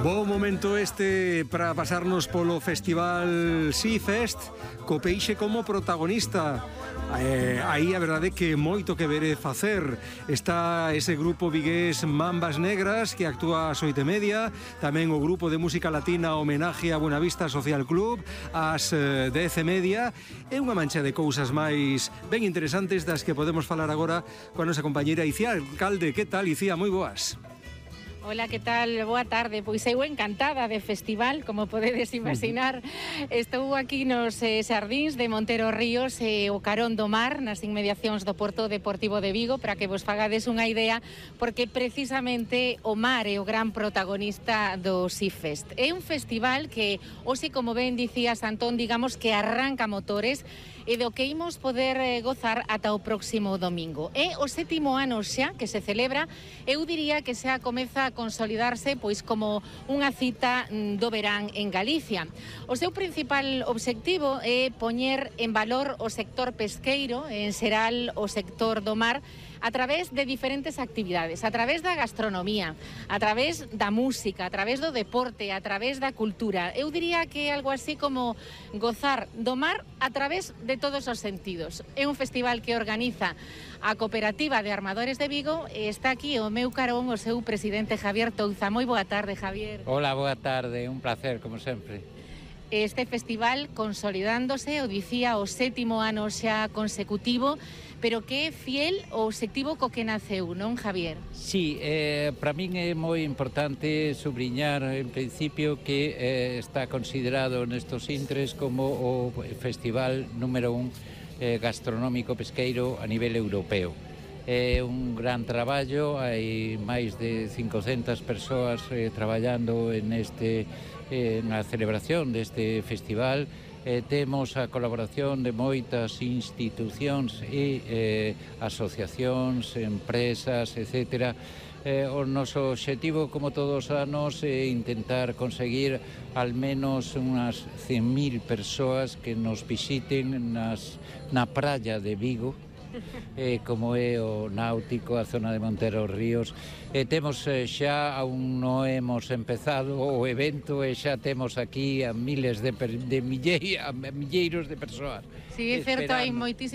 Bo momento este para pasarnos polo Festival Seafest co peixe como protagonista. Aí a verdade é que moito que ver e facer. Está ese grupo vigués Mambas Negras que actúa ás 8:30, tamén o grupo de música latina Homenaje a Buenavista Social Club ás 10:30 e unha mancha de cousas máis ben interesantes das que podemos falar agora coa nosa compañeira Icía Alcalde. Que tal, Icía? Moi boas. Hola, que tal? Boa tarde. Pois eu encantada de festival, como podedes imaginar. Estou aquí nos xardíns de Montero Ríos e o carón do mar, nas inmediacións do Porto Deportivo de Vigo, para que vos fagades unha idea, porque precisamente o mar é o gran protagonista do Seafest. É un festival que, hoxe, como ben dicías, Antón, digamos que arranca motores e do que imos poder gozar ata o próximo domingo. É o 7º ano xa que se celebra. Eu diría que xa comeza a consolidarse pois como unha cita do verán en Galicia. O seu principal obxectivo é poñer en valor o sector pesqueiro, en xeral o sector do mar, a través de diferentes actividades, a través da gastronomía, a través da música, a través do deporte, a través da cultura. Eu diría que é algo así como gozar do mar a través de todos os sentidos. É un festival que organiza a Cooperativa de Armadores de Vigo e está aquí o meu carón o seu presidente Javier Touza. Moi boa tarde, Javier. Hola, boa tarde, un placer, como sempre. Este festival consolidándose, o dicía, o 7º ano xa consecutivo, pero que é fiel ao obxectivo co que naceu, non, Javier? Sí, para min é moi importante subliñar en principio que está considerado nestos intres como o festival número 1 gastronómico pesqueiro a nivel europeo. É un gran traballo, hai máis de 500 persoas traballando na celebración deste festival. Temos a colaboración de moitas institucións e asociacións, empresas, etc. O noso obxectivo, como todos os anos, é intentar conseguir al menos unhas 100.000 persoas que nos visiten na praia de Vigo, como é o Náutico, a zona de Montero Ríos. Temos xa, aún non hemos empezado o evento e xa temos aquí a milleiros de persoas. Sí, é certo, hai moitísimas